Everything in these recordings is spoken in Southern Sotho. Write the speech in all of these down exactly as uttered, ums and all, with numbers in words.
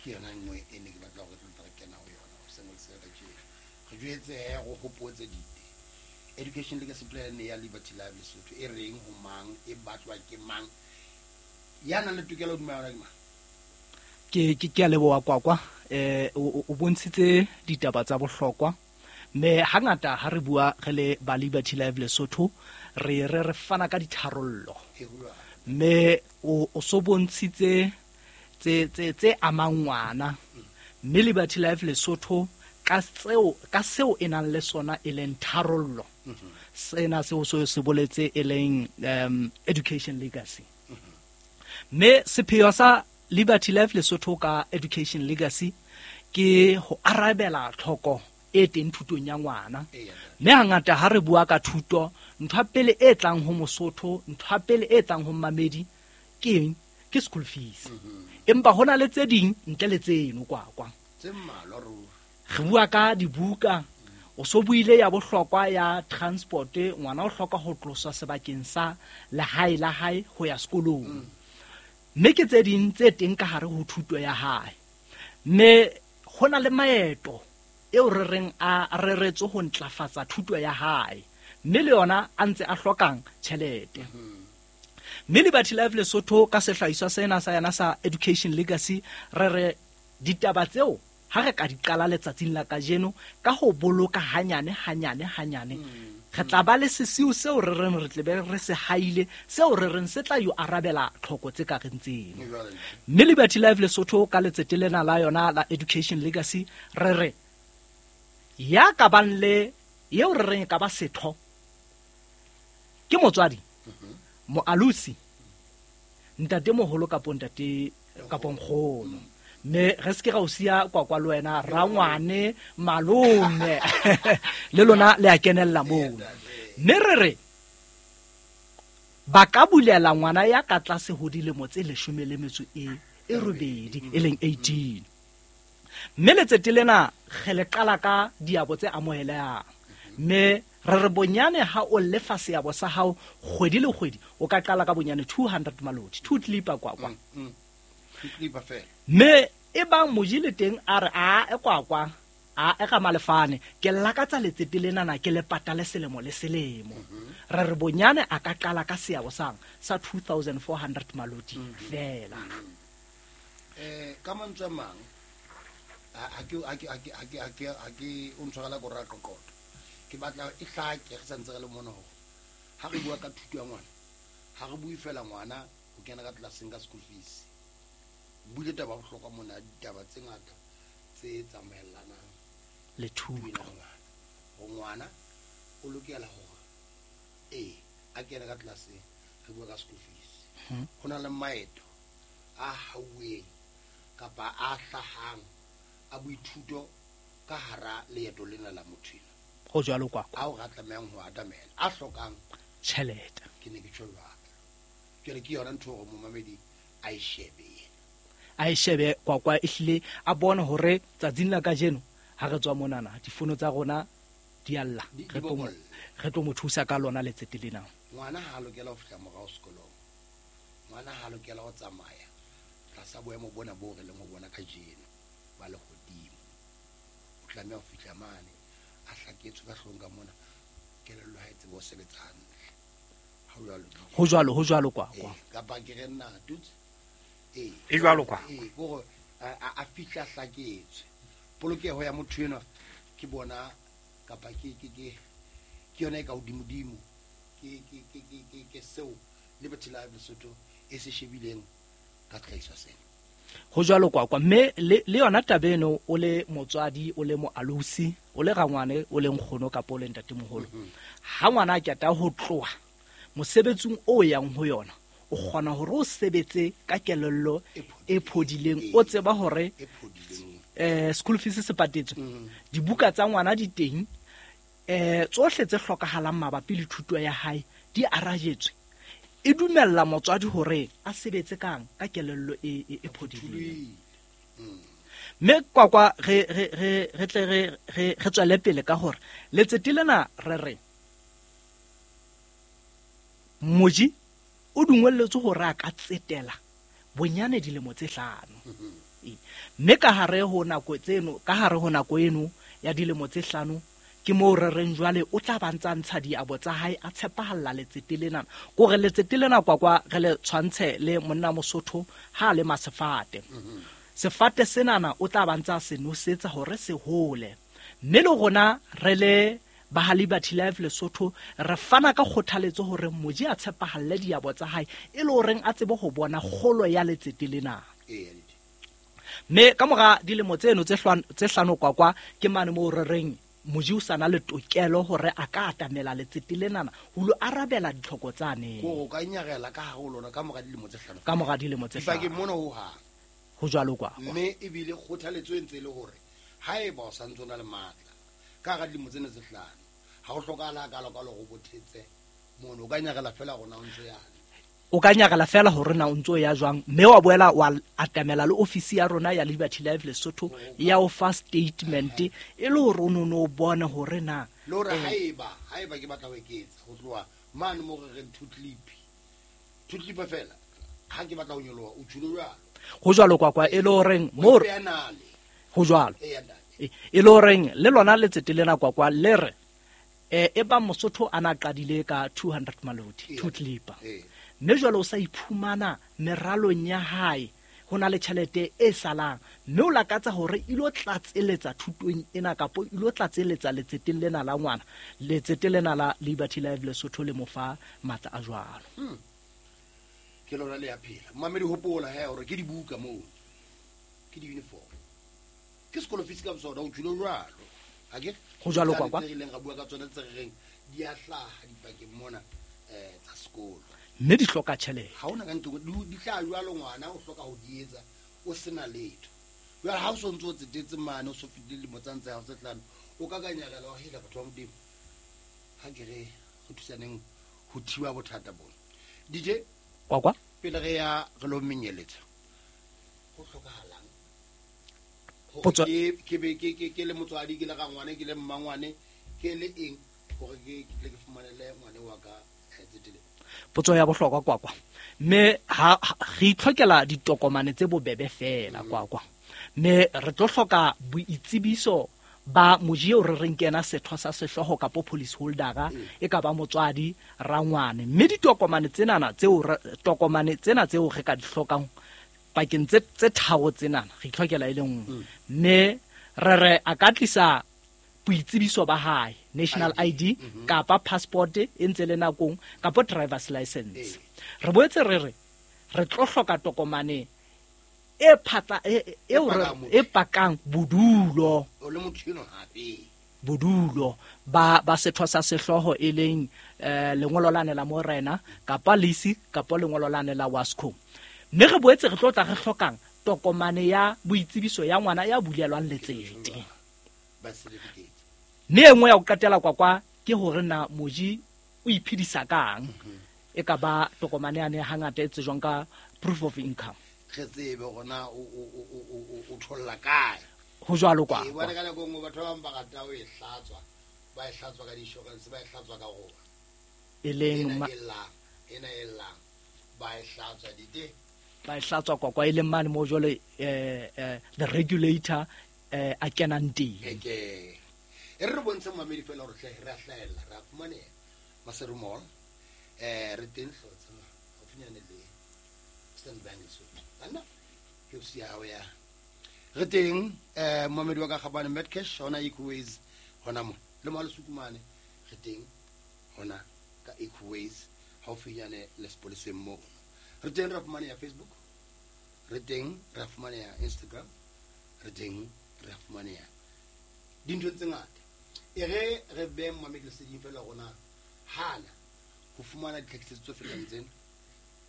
Ke yona nngwe e ne ke batla hore re tla re kena ho yona hoseng le se kajeno. Re jwetse he go hopotse dite. Education Legacy Plan ya Liberty Life Lesotho e reng ho mang, e batlwa ke mang, ya nang le tokelo hodima yona ke mang? Ke ke ke a leboha Kwakwa. Eh o o bontshitse ditaba tsa bohlokwa. Mme hangata ha re bua re le ba Liberty Life Lesotho re re re fana ka ditharollo. E ho jwalo. Mme o o so bontshitse tse tse tse amang ngwana. Mme Liberty Life Lesotho ka tseo ka seo e nang le sona e leng tharollo. Sena seo so se boletse e leng um education legacy. Mme sepheo sa Liberty Life Lesotho ka education legacy ke ho arabela tlhoko e teng thutong ya ngwana. Eya. Mme hangata ha re bua ka thuto, ntho ya pele e tlang ho Mosotho, ntho ya pele e tlang ho mmamedi ke eng? Ke school fees. Empa hona le tse ding ntle le tseno Kwakwa. Tse mmalwa ruri. Re bua ka dibuka, o so buile ya bohlokwa ya transport, ngwana o hloka ho tloswa sebakeng sa lehae la hae ho ya sekolong. Mme ke tse ding tse teng ka hare ho thuto ya hae. Mme ho na le maeto eo re reng a reretswe ho ntlafatsa thuto ya hae. Mme le yona a ntse a hlokang tjhelete. Mme Liberty Life Lesotho ka sehlahiswa sena sa yona sa Education Legacy re re ditaba tseo ha re ka di qala letsatsing la kajeno ka ho boloka hanyane hanyane hanyane, re tla ba le sesiu seo re reng re tle be re se haile, seo re reng se tla yo arabela tlhoko tse ka reng tseno. Mme Liberty Life Lesotho ka letsete lena la yona la Education Legacy re re ya ka bang le eo re reng e ka ba setho ke motswadi, moalusi, ntate moholo kapo ntate kapo nkgono. Mme re se ke ra o siya Kwakwa le wena rangwane malome le lona le a kenella moo. Mme re re ba ka bulela ngwana ya ka tlase ho dilemo tse leshome le metso e e robedi e leng eighteen. Mme letsete lena re le qala ka diabo tse amohelehang. Mme re re bonyane ha o lefa seabo sa hao kgwedi le kgwedi, o ka qala ka bonyane two hundred maloti, two clipper Kwakwa. Mm, mm. Two clipper fela. Mme e bang moji le teng a re a e Kwakwa, a e ga malefane, ke lakatsa letsete lenana ke le patale selemo le selemo. Re re bonyane a ka qala ka seabo sang sa two thousand four hundred maloti fela. Eh, ka mantswe a mang, ha, ha ke, ha ke, ha ke, ha ke, ha ke, ha ke o ntshwarela ko ra qoqotho. Ke batla e hlake re santse re le mona hore ha re bua ka thuto ya ngwana, ha re bue fela ngwana o kena ka tlelaseng ka school fees. Buile taba ya bohlokwa mona, ditaba tse ngata tse tsamaellanang le thuto. ya ngwana. Hore ngwana o lokela hore ee a kene ka tlelaseng, re bua ka school fees. Hmm. Ho na le maeto a hauweng kapa a hlahang a boithuto ka hara leeto lena la motho ena. Ho jwalo Kwakwa. Ao re tlamehang ho atamela, a hlokang tjhelete. Ke ne ke tjho jwalo. Jwale ke yona ntho hore momamedi a e shebe yena. A e shebe Kwakwa, ehlile a bone hore tsatsing la kajeno ha re tswa monana difono tsa rona di a lla. Di-, di Re tlo mo-, bokolle. re tlo mo thusa ka lona letsete lena. Ngwana ha a lokela ho fihla morao sekolong. Ngwana ha a lokela ho tsamaya tlasa boemo bona boo re leng ho bona kajeno ba lehodimo. O tlameha ho fihla mane a hlaketswe ka hloohong ka mona, kelello ha e tsebe ho sebetsa hantle. Ha ho jwalo. Ho jwalo, ho jwalo Kwakwa. Eh, kapa ke re nna tutse. Eh. E jwalo kwa. Eh, ke hore a, a, a fihla hlaketswe. Polokeho ya motho enwa ke bona kapa ke, ke, ke, ke yona e ka hodimodimo. Ke, ke, ke, ke, ke, ke seo Liberty Life Lesotho e se shebileng ka tlhahiso sena. Ho jwalo Kwakwa. Mme le, le yona taba eno, o le motswadi, o le moalusi, o le rangwane, o le nkgono kapa o le ntatemoholo. Mm-hmm. Ha ngwana a qeta ho tloha mosebetsing o yang ho yona, o kgona hore o sebetse ka kelello E phodileng. e phodileng, o tseba hore, E phodileng. eh, school fees se patetswe, Mm. dibuka tsa ngwana di teng, eh, tsohle tse hlokahalang mabapi le thuto ya hae di arajetswe. E dumella motswadi hore a sebetse kang ka kelello e, e, e phodileng. Mm. Mme Kwakwa re, re, re, re tle re, re, re tswele pele ka hore letsete lena re re moji o dungwelletswe hore a ka tsetela bonyane dilemo tse hlano. Mm-hmm. Mme ka hare ho nako tseno, ka hare ho nako eno ya dilemo tse hlano, ke moo re reng jwale o tla ba ntsa ntsha diabo tsa hae a tshepahalla letsete lena. Kore letsete lena kwakwa re le tshwantshe le monna Mosotho ha le masefate. Sefate senana o tla ba ntsa se nosetsa hore se hole. Mme le rona re le ba ha Liberty Life Lesotho re fana ka kgothaletso hore moji a tshepahalle diabo tsa hae e le horeng a tsebe ho bona kgolo ya letsete lena. Mme ka mora dilemo tseno tse hlano tse hlano kwakwa ke mane moo re reng moji o sana le tokelo hore a ka atamela letsete lenana ho lo arabela ditlhoko tsane. Ko ka nyarela ka ha ho lona ka mora dilemo tse hlano. Ka mora dilemo tse hlano. Dipakeng mona ho hang. Ho jwalo kwa. Mme ebile kgothaletso e ntse le hore haeba o santse o na le matla ka hara dilemo tsena tse hlano ha o hlokahala ka lo ka lo go bothetse mono o ka nyarela fela rona o ntse yana. O ka nyarela fela hore na o ntso ya jwang mme wa boela wa atamela le ofisi ya rona ya Liberty Life Lesotho ya o fa statement e le hore o no no bone hore na le hore haeba haeba ke batla ho eketsa ho tloha mane mo re re two clip two clip fela ha ke batla ho nyoloha o tshilo jwalo ho jwalo kwa kwa e le horeng mo ho jwalo e le horeng le lona letsete lena kwa kwa le re e e ba Mosotho ana qadile ka two hundred malodi two clip mme jwale o sa iphumana meralong ya hae ho na le tjhelete e salang mme o lakatsa hore ilo tlatseletsa thutong ena kapo ilo tlatseletsa letseteng lena la ngwana letsete lena la Liberty Life Lesotho le mofa matla a jwalo. Hmm. Ke lona le ya phela mamedi hopola he hore ke dibuka moo ke di uniform ke sekolo fees ka bosona o tshilo jwalo ha ke ho jwalo kwa kwa re ileng ra bua ka tsona tse reng di a hlaha dipakeng mona eh tsa sekolo mme di hloka tjhelete ha ona ka ntho di tla jwalo ngwana o hloka ho di etsa o sena letho jwale ha o so ntse o tsetetse mane o so fitile dilemo tsa ntse ha o se tlano o ka kanyakela wa hela batho ba modimo ha ke re go thusaneng ho thiba bothata bona D J kwa kwa pele re ya re lo menyeletsa ho hlokahalang ke ke be ke ke le motswadi ke le ga ngwane ke le mmangwane ke le eng hore ke ke tle ke fumanele ngwane wa ka tsetele. Potso ya bohlokwa kwa kwa mme ha re itlhokela ditokomane tse bobebe fela kwa kwa mme re tlo hloka boitsebiso ba moji o re reng kena setho sa sehlooho kapo police holdera e ka ba motswadi rangwane mme ditokomane tsenana tseo tokomane tsena tseo re ka di hlokang pakeng tse tse tharo tsenana re itlhokela e le nngwe mme re re a ka tlisa boitsebiso ba hae national I D kapa passport e ntse le nakong kapa driver's license. Re boetse re re re tlo hloka tokomane e phatla e e pakang bodulo o le motho eno hape bodulo ba ba setho sa sehlooho e leng lengolo lane la morena kapa lease kapa lengolo lane la Wasco. Mme re boetse re tlo tla re hlokang tokomane ya boitsebiso ya ngwana ya bulelwang letsete ba certificate. Mme e nngwe ya ho qetela kwa kwa ke hore na moji o iphedisa kang e ka ba tokomane yane hangata e tsejwang ka proof of income re tsebe hore na o o o o tholla kae ho jwalo kwa e bona ka nako nngwe batho ba bang ba rata ho e hlatswa ba e hlatswa ka di-insurance ba e hlatswa ka rona e leng ena e llang ena e llang ba e hlatswa dite ba e hlatswa kwa kwa e leng mane mo jwale eh the regulator eh a kenang teng ke e re bontshe mamedi fela hore hle re a hlahella re a fumaneha Maseru Mall eh re teng hlotsa haufinyane le Standard Bank Lesotho ana ke o siya ya re teng eh mamedi wa ka Gabane Medcash hona Equiways hona mo le mo Sukumane re teng hona ka Equiways haufinyane le sepoleseng mo re teng re fumaneha Facebook re teng re fumaneha Instagram re teng re fumaneha dintho tse ngata e re re be mamedi leseding fela rona hana ho fumana ditlhakisetso tse fetang tsena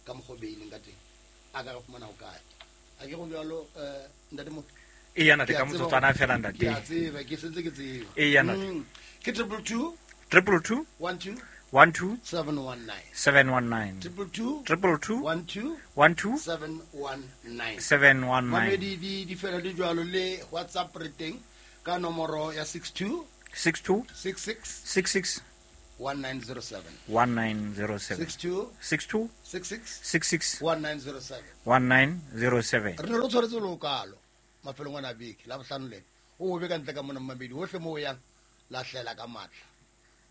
ka mokgwa o beileng ka teng a ka re fumana ho kae a ke go jwalo eh ntate mo e yana te ka motsotswana fela ntate ke a tseba ke sentse ke tseba e yana ke triple two triple two one two one two seven one nine seven one nine triple two triple two one two one two seven one nine seven one nine mamedi di di fela di jwalo le WhatsApp re teng ka nomoro ya six two six two six six six six one nine zero seven one nine zero seven six two six two six six six six one nine zero seven one nine zero seven re ne re tshwaretse lokalo mafelong ana a beke la bohlano lena o be ka ntle ka mona mmamedi hohle moo o yang lahlela ka matla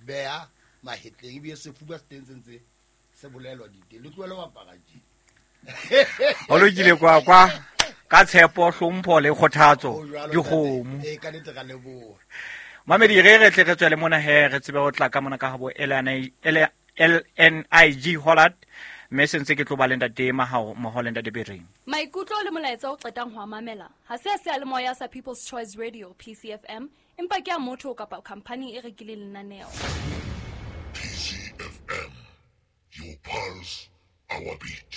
beha mahetleng ebile sefuba se teng se ntse se bolelwa diteng le tlohele ho apara tje ho lokile kwa kwa ka tshepo hlompho le kgothatso Ho jwalo, dikgomo ntate. Ee, ka nnete ra leboha mamedi re re tle re tswele mona he re tsebe ho tla ka mona ka habo L N I G Hollard mme se ntse ke tlo ba le ntate Mahao mmoho le ntate Bereng. Maikutlo le molaetsa o qetang ho a mamela ha se a seyalemoya sa People's Choice Radio P C F M, empa ke a motho kapa khamphani e rekileng lenaneo. P C F M, your pulse, our beat.